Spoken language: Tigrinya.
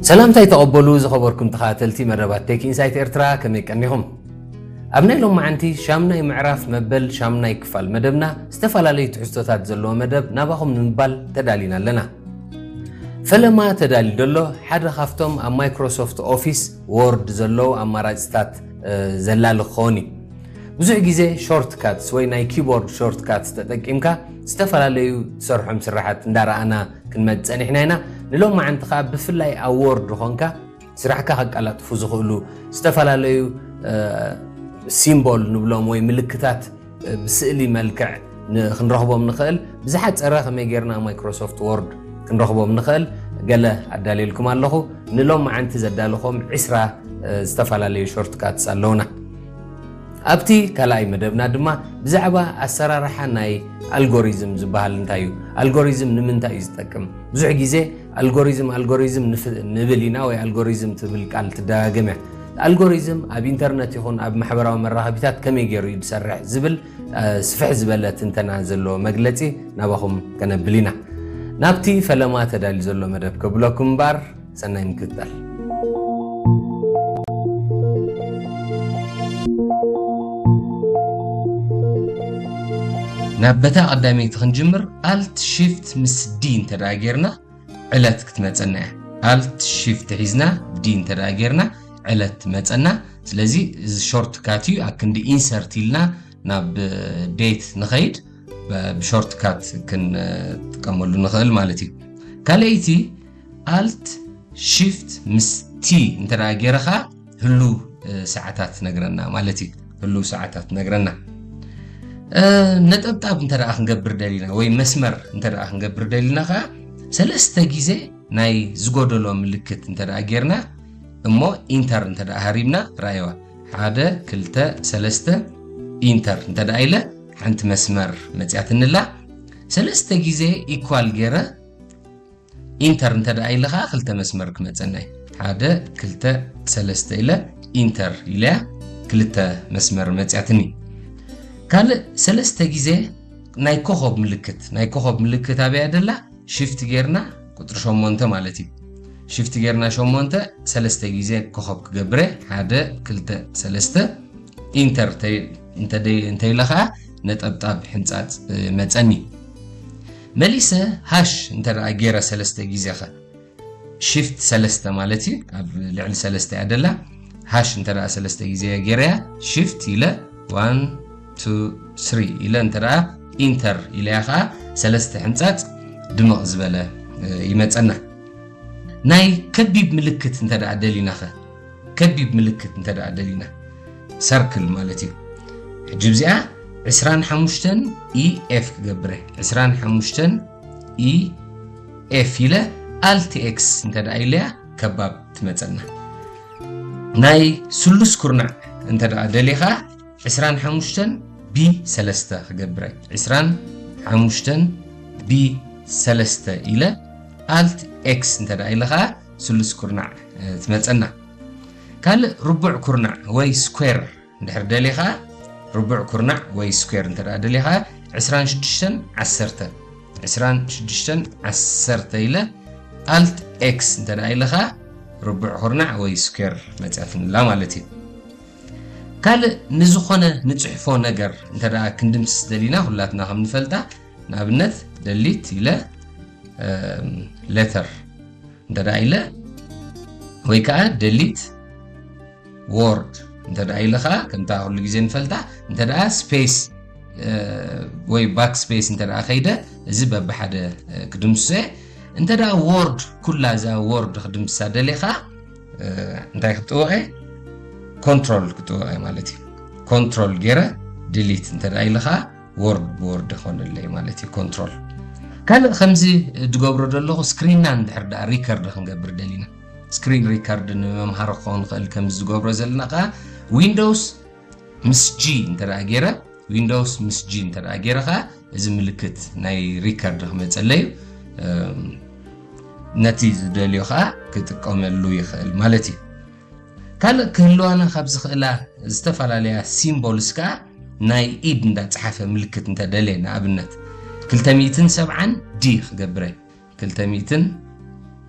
ሰላምታይ ተቐበሉ ዝኸበርኩም ተኸታተልቲ መደባት ቴክ ኢንሳይት ኤርትራ፣ ከመይ ቀኒኹም? ኣብ ናይ ሎማዓንቲ ሻምናይ ምዕራፍ መበል ሻምናይ ክፋል መደብና ዝተፈላለዩ ትሕዝቶታት ዘለዎ መደብ ናባኹም ንምባል ተዳሊና ኣለና። ፈለማ ተዳልዩ ዘሎ ሓደ ካብቶም ኣብ ማይክሮሶፍት ኦፊስ ወርድ ዘለዉ ኣማራፅታት ዘላሊ ክኸውን እዩ። ብዙሕ ግዜ ሾርት ካትስ ወይ ናይ ኪቦርድ ሾርት ካትስ ተጠቂምካ ዝተፈላለዩ ትሰርሖም ስራሓት እንዳረኣና ክንመጽእ ጸኒሕና ኢና። ንሎማዓንቲ ከኣ ብፍላይ ኣብ ወርድ ኾንካ ስራሕካ ከቀላጥፉ ዝኽእሉ ዝተፈላለዩ ሲምቦል ንብሎም ወይ ምልክታት ብስእሊ መልክዕ ክንረኽቦም ንኽእል። ብዝሓፀረ ከመይ ጌርና ማይክሮሶፍት ወርድ ክንረኽቦም ንኽእል ገለ ኣዳልየልኩም ኣለኹ። ንሎማዓንቲ ዘዳለኹም ዕስራ ዝተፈላለዩ ሾርት ካትስ ኣለውና። ኣብቲ ካልኣይ መደብና ድማ ብዛዕባ ኣሰራርሓ ናይ ኣልጎሪዝም ዝበሃል እንታይ እዩ፣ ኣልጎሪዝም ንምንታይ እዩ ዝጠቅም፣ ብዙሕ ግዜ ኣልጎሪዝም ኣልጎሪዝም ንብል ኢና ወይ ኣልጎሪዝም ትብል ቃል ትደጋገም እያ። ኣልጎሪዝም ኣብ ኢንተርነት ይኹን ኣብ ማሕበራዊ መራኸቢታት ከመይ ገይሩ እዩ ዝሰርሕ ዝብል ስፍሕ ዝበለ ትንተና ዘለዎ መግለፂ ናባኹም ከነብል ኢና። ናብቲ ፈለማ ተዳልዩ ዘሎ መደብ ከብለኩም እምበር ሰናይ ምክትታል። ናብ በታ ቀዳመይቲ ክንጅምር፣ ኣልት ሺፍት ምስ ዲ እንተ ደኣ ጌርና ዕለት ክትመጸና እያ። ኣልት ሺፍት ሒዝና ዲ እንተ ደኣ ጌርና ዕለት ትመጸና። ስለዚ እዚ ሾርት ካት እዩ። ኣክንዲ ኢንሰርት ኢልና ናብ ዴት ንኸይድ ብሾርት ካት ክንጥቀመሉ ንኽእል ማለት እዩ። ካልኣይቲ ኣልት ሺፍት ምስ ቲ እንተ ደኣ ጌረ ኸኣ ህሉ ሰዓታት ነግረና ማለት እዩ። ህሉ ሰዓታት ነግረና። ነጠብጣብ እንተ ደኣ ክንገብር ደሊና ወይ መስመር እንተ ደኣ ክንገብር ደሊና ኸኣ ሰለስተ ግዜ ናይ ዝጎደሎ ምልክት እንተ ደኣ ጌርና እሞ ኢንተር እንተ ደኣ ሃሪምና፣ ራእይዋ ሓደ ክልተ ሰለስተ ኢንተር እንተ ደኣ ኢለ ሓንቲ መስመር መጽያትንላ። ሰለስተ ግዜ ኢኳል ጌረ ኢንተር እንተ ደኣ ኢለ ኸኣ ክልተ መስመር ክመጸና እዩ። ሓደ ክልተ ሰለስተ ኢለ ኢንተር ኢለያ ክልተ መስመር መጽያትኒ። ካልእ ሰለስተ ግዜ ናይ ኮኸብ ምልክት፣ ናይ ኮኸብ ምልክት ኣበያ ደላ? ሽፍት ጌርና ቁጽሪ ሸሞንተ ማለት እዩ። ሽፍት ጌርና ሸሞንተ ሰለስተ ግዜ ኮኸብ ክገብረ፣ ሓደ ክልተ ሰለስተ ኢንተር እንተ ኢለ ኸኣ ነጠብጣብ ሕንጻጽ መጸኒ። መሊሰ ሃሽ እንተ ደኣ ጌረ ሰለስተ ግዜ ኸ ሽፍት ሰለስተ ማለት እዩ። ኣብ ልዕሊ ሰለስተ እያ ደላ። ሃሽ እንተ ደኣ ሰለስተ ግዜ ጌረያ ሽፍት ኢለ ዋን ቱ ስሪ ኢለ እንተ ደኣ ኢንተር ኢለያ ኸኣ ሰለስተ ሕንጻጽ ድምቕ ዝበለ ይመጸና። ናይ ከቢብ ምልክት እንተ ደኣ ደሊና ኸ? ከቢብ ምልክት እንተ ደኣ ደሊና ሰርክል ማለት እዩ። ሕጂ እዚኣ ዕስራን ሓሙሽተን ኢ ኤፍ ክገብረ፣ ዕስራን ሓሙሽተን ኢ ኤፍ ኢለ ኣልት ኤክስ እንተ ደኣ ኢለያ ከባብ ትመጸና። ናይ ስሉስ ኩርናዕ እንተ ደኣ ደሊኻ ዕስራን ሓሙሽተን ቢ ሰለስተ ክገብረ፣ ዕስራን ሓሙሽተን ቢ ሰለስተ ኢለ ኣልት ኤክስ እንተ ደኣ ኢለ ኸኣ ስሉስ ኩርናዕ ትመጸና። ካልእ ርቡዕ ኩርናዕ ወይ ስኩዌር እንድሕር ደሊኻ፣ ርቡዕ ኩርናዕ ወይ ስኩዌር እንተ ደኣ ደሊኻ ዕስራን ሽዱሽተን ዓሰርተ፣ ዕስራን ሽዱሽተን ዓሰርተ ኢለ ኣልት ኤክስ እንተ ደኣ ኢለኻ ርቡዕ ኩርናዕ ወይ ስኩዌር መጽያትንላ ማለት እዩ። ካልእ ንዝኾነ ንጽሕፎ ነገር እንተ ደኣ ክንድምስስ ደሊና ኩላትና ከም ንፈልጣ ንኣብነት ደሊት ኢለ ሌተር እንተ ደኣ ኢለ ወይ ከዓ ደሊት ወርድ እንተ ደኣ ኢለ ከዓ ከምታ ኩሉ ግዜ ንፈልጣ እንተ ደኣ ስፔስ ወይ ባክ ስፔስ እንተ ደኣ ከይደ እዚ በብሓደ ክድምስሶ እየ። እንተ ደኣ ወርድ ኩላ እዛ ወርድ ክድምስሳ ደልየ ከዓ እንታይ ክጥወቐ ኮንትሮል ክጥወቐ ማለት እዩ። ኮንትሮል ገይረ ድሊት እንተ ደኣ ኢለ ከዓ ወርድ ብወርድ ይኾነለይ ማለት እዩ። ኮንትሮል ካልእ ከምዚ ዝገብሮ ዘለኹ ስክሪንና እንድሕር ደኣ ሪከርድ ክንገብር ደሊና ስክሪን ሪከርድ ንመምሃሪ ክኸውን ይኽእል። ከምዚ ዝገብሮ ዘለና ከዓ ዊንዶውስ ምስ ጂ እንተ ደኣ ገይረ ዊንዶውስ ምስ ጂ እንተ ደኣ ገይረ ከዓ እዚ ምልክት ናይ ሪከርድ ክመፀለይ እዩ። ነቲ ዝደልዮ ከዓ ክጥቀመሉ ይኽእል ማለት እዩ። ካልእ ክህልዋና ካብ ዝኽእላ ዝተፈላለያ ሲምቦልስ ከዓ ናይ ኢድ እንዳፀሓፈ ምልክት እንተደልየ ንኣብነት ክልተ ሚእትን ሰብዓን ዲ ክገብረ ክልተ ሚእትን